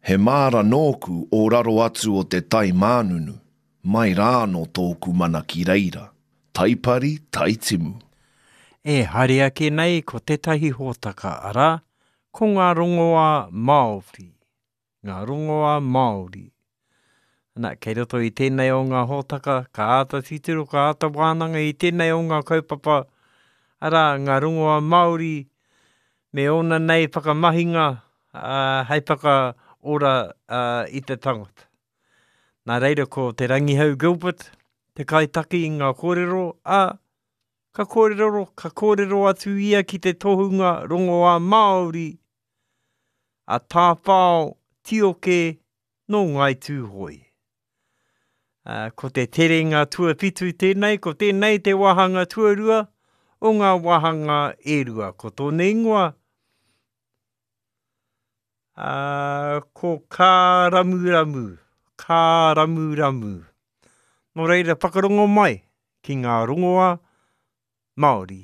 He māra nōku o raro atu o te tai mānunu, mai rā anō tōku mana ki reira, taipari, taitimu. E haere ake nei ko tētahi hōtaka, arā, ko ngā rongoā Māori. Ngā rongoā Māori. Ana, kei roto i tēnei o ngā hōtaka, ka āta titiro, ka āta wānanga i tēnei o ngā kaupapa, arā, ngā rongoā Māori me ōna nei whakamahinga hei whakaora i te tangata. Nā reira ko Te Rangihau Gilbert te kaitaki i ngā kōrero, ā, ka kōrero, ka kōrero atu ia ki te tohunga rongoā Māori a Tāwhao Tioke nō Ngāi Tūhoe. Ā, ko te terenga tuawhitu tēnei, ko tēnei te wāhanga tuarua o ngā wāhanga e rua. Ko tōna ingoa, ā, ko Kāramuramu, Kāramuramu. Nō reira, whakarongo mai ki ngā rongoā Māori.